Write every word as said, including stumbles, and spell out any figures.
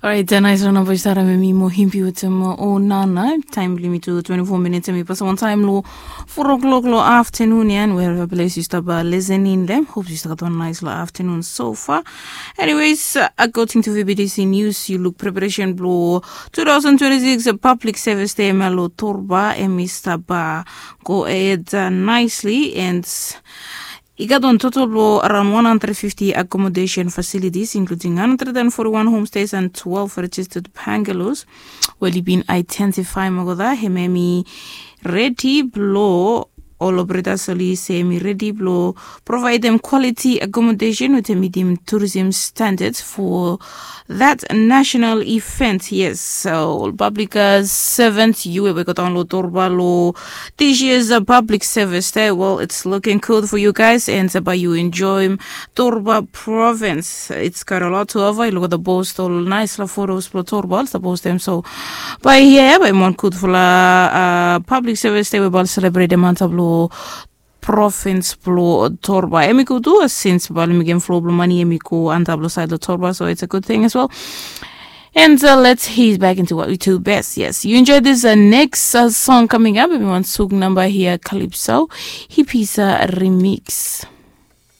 Orait, nais long namba yu stap harem mi mo himpi wetem o nana. Taem blong yumi tu twenty-four minutes, em i pasim wan taem long four o'clock long afternoon ya. And wherever place yu stap listening long, hope yu stap gat wan nais long afternoon so far. Anyways, according to V B T C News, yu luk preparation blong two thousand twenty-six Public Service Day em ya long Torba, em i stap go ahead nicely, and i gat wan total blong around one hundred fifty accommodation facilities, including one hundred and forty-one homestays and twelve registered bungalows. Wel, i bin identify olgeta hemia, em i redi blong ol operators oli se em i redi blong provaedem quality accommodation wetem mitim tourism standards for that national event. Yes, so ol public servants, yu we i go daon long Torba long this year's Public Service Day, well, it's looking good for you guys, and bae yu enjoem Torba Province. It's got a lot to offer. Yu luk olgeta post, ol naesfala photos blong Torba oli stap postem. So bae hia ya bae i wan gudfala Public Service Day we bae oli selebretem antap long province blong Torba. Em i gud tu, since bae oli mekem flow blong mane em i go antap long saed long Torba, so it's a good thing as well. And let's head back into what we do best. Yes, you enjoy this next song coming up. Em i wan suk namba hia, Calypso, Hipisa remix.